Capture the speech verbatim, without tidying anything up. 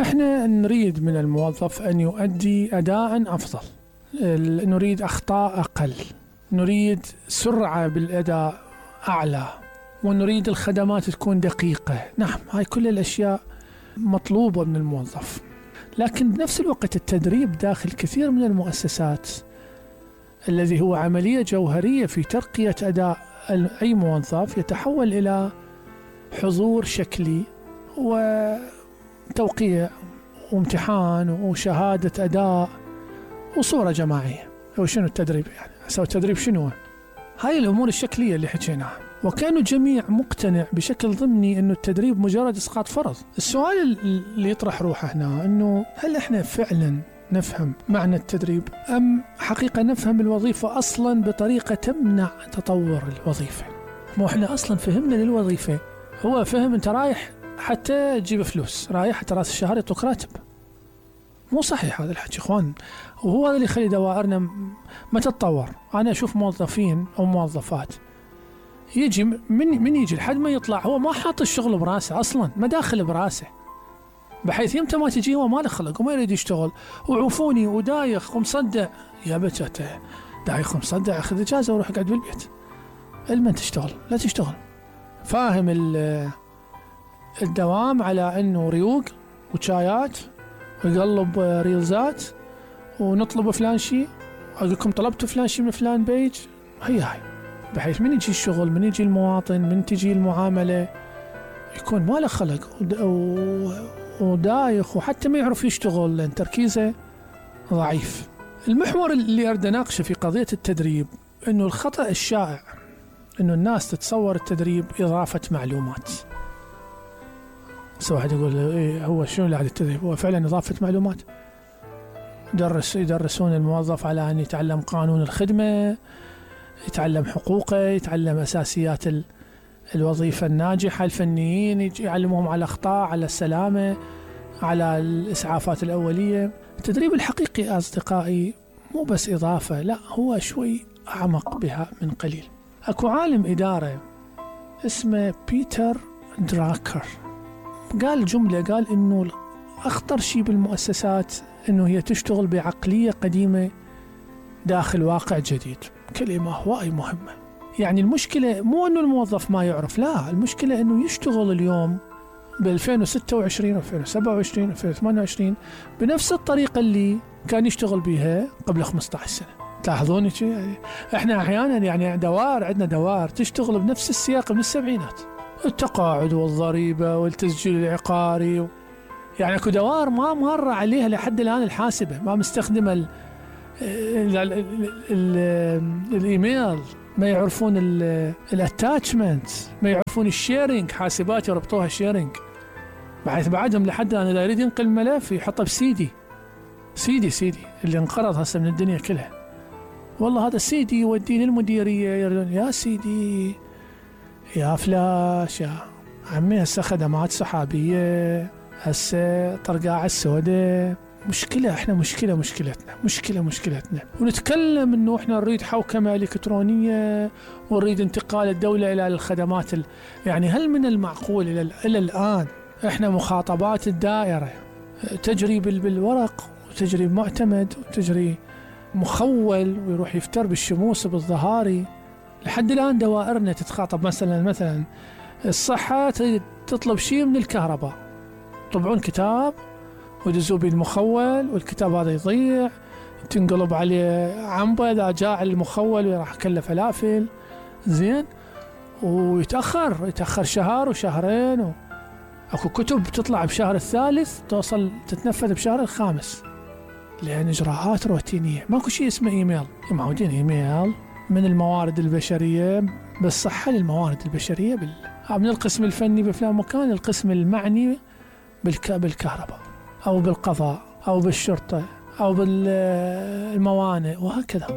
احنا نريد من الموظف أن يؤدي أداء أفضل، نريد أخطاء أقل، نريد سرعة بالأداء أعلى، ونريد الخدمات تكون دقيقة. نعم، هاي كل الأشياء مطلوبة من الموظف. لكن بنفس الوقت التدريب داخل كثير من المؤسسات الذي هو عملية جوهرية في ترقية أداء أي موظف يتحول إلى حضور شكلي وتوقيع وامتحان وشهادة أداء وصورة جماعية. هو شنو التدريب يعني؟ سوى التدريب شنو؟ هاي الأمور الشكلية اللي حكيناها. وكانوا الجميع مقتنع بشكل ضمني أنه التدريب مجرد إسقاط فرض. السؤال اللي يطرح روحه هنا أنه هل إحنا فعلا نفهم معنى التدريب، أم حقيقة نفهم الوظيفة أصلا بطريقة تمنع تطور الوظيفة؟ مو إحنا أصلا فهمنا للوظيفة هو فهم أنت رايح حتى تجيب فلوس، رايح حتى رأس الشهر يعطوك راتب. مو صحيح هذا الحكي إخوان، وهو هذا اللي يخلي دوائرنا ما تتطور. أنا أشوف موظفين أو موظفات يجي من من يجي لحد ما يطلع هو ما حاط الشغل براسه أصلا، ما داخل براسه، بحيث يمتى ما تجي هو ما له خلق وما يريد يشتغل وعوفوني ودايخ ومصدع. يا بتاته دايخ ومصدع، أخذ إجازة وروح اقعد بالبيت. المن تشتغل؟ لا تشتغل. فاهم الدوام على أنه ريوق وشايات ويقلب ريلزات ونطلب فلان شيء، أقول لكم طلبتوا فلان شيء من فلان بيج. هي هاي بحيث من يجي الشغل، من يجي المواطن، من تجي المعاملة، يكون ما له خلق ودايخ وحتى ما يعرف يشتغل لأن تركيزه ضعيف. المحور اللي أريد أناقشه في قضية التدريب أنه الخطأ الشائع أنه الناس تتصور التدريب إضافة معلومات. سواء واحد يقول إيه هو شنو اللي على التدريب؟ هو فعلا إضافة معلومات. درس يدرسون الموظف على أن يتعلم قانون الخدمة، يتعلم حقوقه، يتعلم أساسيات الوظيفة الناجحة. الفنيين يعلمهم على الأخطاء، على السلامة، على الإسعافات الأولية. التدريب الحقيقي أصدقائي مو بس إضافة، لا، هو شوي أعمق بها من قليل. أكو عالم إدارة اسمه بيتر دراكر قال جملة، قال إنه أخطر شيء بالمؤسسات إنه هي تشتغل بعقلية قديمة داخل واقع جديد. كلمة هواي مهمة. يعني المشكلة مو إنه الموظف ما يعرف، لا، المشكلة إنه يشتغل اليوم ب ألفين وستة وعشرين ألفين وسبعة وعشرين ألفين وثمانية وعشرين بنفس الطريقة اللي كان يشتغل بها قبل خمسة عشر سنة. تلاحظون شيء؟ يعني إحنا أحيانا يعني دوار عندنا دوار تشتغل بنفس السياق من السبعينات، التقاعد والضريبة والتسجيل العقاري. يعني أكو دوار ما مر عليها لحد الآن الحاسبة، ما مستخدمة ال ال ال ال الإيميل، ما يعرفون الاتاتشمنت، ما يعرفون الشيرينج، حاسبات يربطوها شيرينج، بحيث بعدهم لحد الآن إذا يريد ينقل ملف يحطه بسيدي سيدي سيدي اللي انقرض هسه من الدنيا كلها. والله هذا السيدي يوديه للمديرية، يردون يا سيدي يا فلاش يا عمي هسه خدمات سحابية، هسه طرقاع السوداء. مشكلة، احنا مشكلة مشكلتنا مشكلة مشكلتنا ونتكلم انه احنا نريد حوكمة الكترونية ونريد انتقال الدولة الى الخدمات ال... يعني هل من المعقول الى, إلى الان احنا مخاطبات الدائرة تجري بالورق وتجري بمعتمد وتجري مخول ويروح يفتر بالشموس بالظهاري؟ لحد الان دوائرنا تتخاطب مثلا مثلا الصحة تطلب شيء من الكهرباء، طبعون كتاب ودزوا بالمخول والكتاب هذا يضيع، تنقلب عليه عنبة إذا جاء المخول وراح كله فلافل زين، ويتأخر يتأخر شهر وشهرين و... أكو كتب تطلع بشهر الثالث توصل تتنفذ بشهر الخامس، لأن إجراءات روتينية. ماكو شيء اسمه إيميل، معودين إيميل من الموارد البشرية بالصحة للموارد البشرية بال... من القسم الفني بفلان مكان القسم المعني بالك... بالكهرباء أو بالقضاء أو بالشرطة أو بالموانئ وهكذا.